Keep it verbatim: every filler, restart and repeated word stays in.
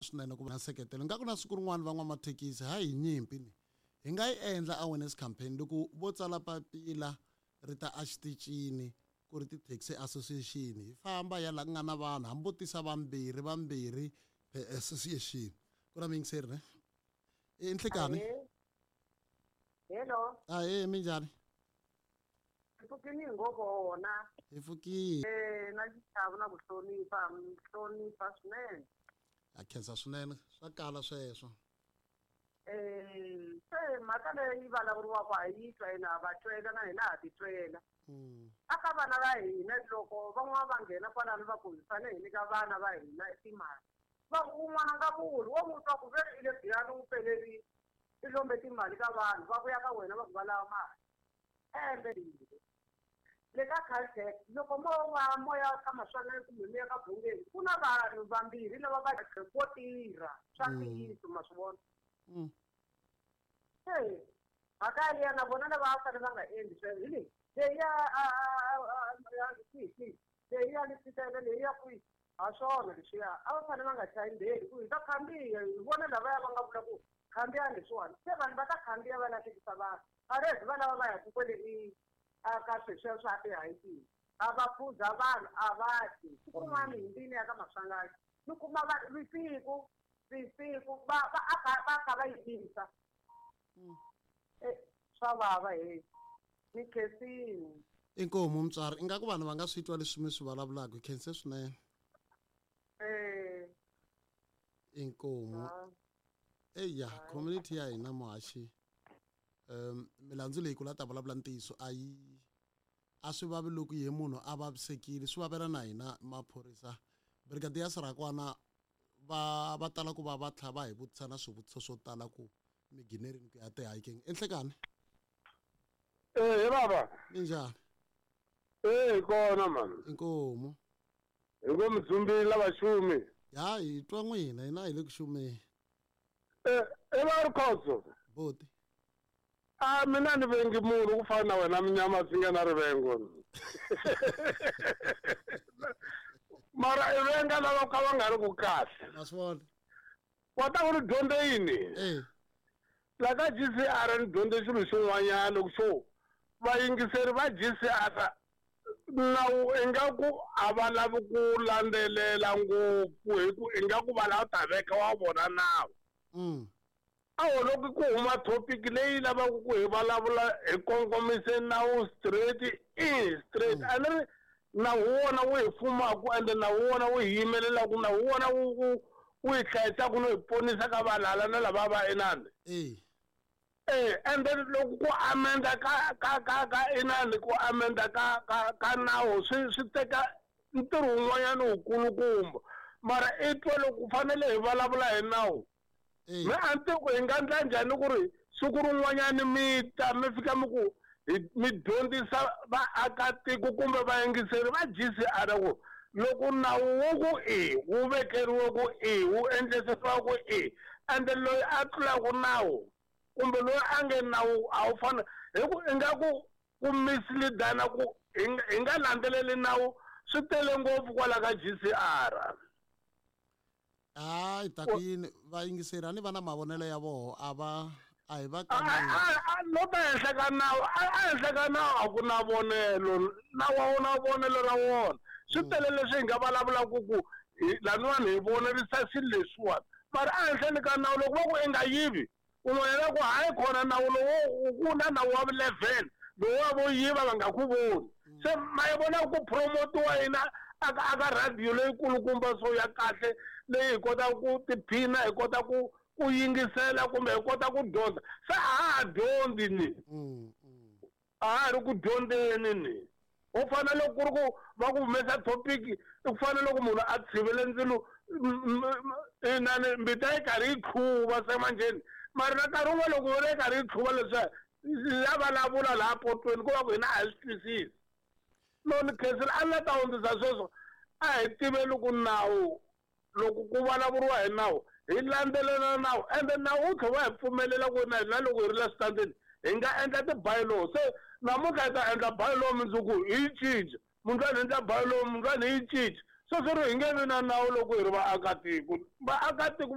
Swinene ku va na nseketelo. Nga ku na siku rin'wana van'wamathekisi hayi hi nyimpi ni hi nga yi endla awareness campaign loko vo tsala papila ri ta exitichini ku ri ti-taxi association, hi famba ya laha ku nga na vanhu, hambi vo tisa vambirhi vambirhi per association. Ku na muyingiseri ne i nhlikani. Hello. Ahee, minjhani? Hi pfukini hi ngo vona. Hi pfukile. Eh, na xichavo na ku hlonipha, mi hlonipha swinene. Ha khensa swinene, swa kala sweswo. Eh, se mhaka leyi vulavuriwaka ha yi twa hina, ha va twela na hina ha ti twela. Mm. Aka vana va hina loko van'wana va nghena kwalano va ku hi fanele hi nyika vana va hina timali. Va ku un'wana nga vuli, wo n'wi twa ku ve i le Giyani wu pelerile, i lombe timali ka vanhu, va vuya ka wena va ku va lava mali. Ende le ka Caltex loko mo va moya ka Maswanganyi kumbe mi ya ka Bungeni, ku na vanhu vambirhi lava va vo tirha swa Mm. ntiyiso, ma swi vona. Mm. Se mhaka yaliya na vona lava va fanele va nga endli sweswo hi leyi leyi ya a a a ya kwihi kwihi, leyi ya Lesitele, leyi ya kwihi, ha swona leswiya a va fanele va nga chayi mbeli ku hi ta khandziya, hi vona lavaya va nga vula ku khandziyani leswiwani, se vanhu va ta khandziya va lahlekisa vanhu. Arezi va lava va yaka kwele i a ka sweswiya swa ti-hiking, a va phuza vanhu a va dyi. Siku rin'wana hi ndini ya ka Maswanganyi ni kuma va vusiku vusiku va va a kha va kha va yimisa. Eh, swa vava he, ni khensile. Inkomu mutswari, ingaku vanhu va nga swi twa leswi mi swi vulavulaka, hi khense swinene. Eh. Inkomu. Ah. Eya, community ya hina muhaxi, um milandzu leyi ku la ta vulavula ntiyiso a yi a swi vavi loko ye munhu a vavisekile, swi vavela na hina maphorisa. Brigadier Sirakwana va va tala ku va va tlha va hi vutisa na swivutiso swo tala ku mi ginerini ku ya ti-hiking. Enhlekani? Eh, he baba. Minjhani? Eh, hi kona man. Inkomu. Hi ngo mudzumbile lava xumi. Ya, hi twa n'wina, hina hi le ku xumeni. Eh, e va ri khotso. Boti. A mina ni vengi munhu ku fana na wena munyama swi nga na rivengo. Mara i venga lava ka va nga ri ku kahle. Ma swi vona? Wa ta ku ri dyondze yini? Eh. La ka G C R ni dyondze xilo xin'wanyana loko xo vayingiseri va G C R nawu ingaku a va lavi ku landzelela ngopfu hi ku ingaku va lava ta veka wa vona nawu. Mm. A ho loko ku huma topic leyi lavaka ku hi vulavula hi kongomise nawu straight i straight. Mm. A ni ri nawu wona wu hi fumaka ende nawu wona wu hi yimelelaka, nawu wona wu, wu, wu hi hlayisaka no hi ponisa ka valala na lava va inani. Eh. Eh, and then loko ku amenda ka, ka, ka, ka inani, ku amenda ka, ka, ka nawu swi, swi teka ntirho wun'wanyana wukulukumba. Mara i twa loko ku fanele hi vulavula hi nawu. Eh. Me a ni tivi ku hi nga endla njhani ku ri siku rin'wanyani mi ta mi fika mi ku hi mi dyondzisa vaakatiko kumbe vayingiseri va G C R ku loko nawu wu ku i wu vekeriwe ku i wu endlisiwa ku i ende loyi a tlulaka nawu kumbe loyi a nge nawu a wu fani hi ku ingaku ku misleadana ku hi nga, hi nga landzeleli nawu swi tele ngopfu kwala ka G C R. Hayi, ta ku yini vayingiseri a ni va na mavonelo ya voho, a va a hi va A, kaneli. a, a, no ta henhla ka nawu, a, a henhla ka nawu a ku na vonelo, nawu a wu na vonelo ra wona. Swi Mm. tele leswi hi nga vulavulaka ku hi laniwani hi vonerisa swilo leswiwani. Mara a henhleni ka nawu loko va ku i nga yivi, un'wana ku hayi khona nawu lowu ku na nawu wa eleven lowu wa vo yiva va nga ku voni. Mm. Se ma yi vona ku promotiwa yina aka, aka radio leyikulukumba so ya kahle leyi hi kotaka ku tiphina, hi kota ku, ku yingisela kumbe hi kota ku dyondza. Se a ha ha dyondzi ni. Mm, mm. A ha ha ri ku dyondzeni ni. U fana loko ku ri ku va ku humesa topic, i ku fana loko munhu a tshivele ndzilo, m-, m-, m-, inani mbita yi karhi yi tlhuva se manjheni. Mara na nkarhi wun'we loko yona yi karhi yi tlhuva leswiya, ya vulavula laha potweni ku va ku hina a hi swi twisisi. No ni khensile a ni la ta hundzisa sweswo, a hi tiveni ku nawu loko ku vulavuriwa hi nawu hi landzelela nawu, ende nawu wu tlhela wu hi pfumelela ku na hina loko hi ri la switandini hi nga endla ti-bylaw. Se namuntlha hi ta endla bylaw mundzuku hi yi cinca, mundlwana hi endla bylaw mundlwana hi yi cinca. Sweswo ri hi nge vi na nawu loko hi ri vaakatiko. Vaakatiko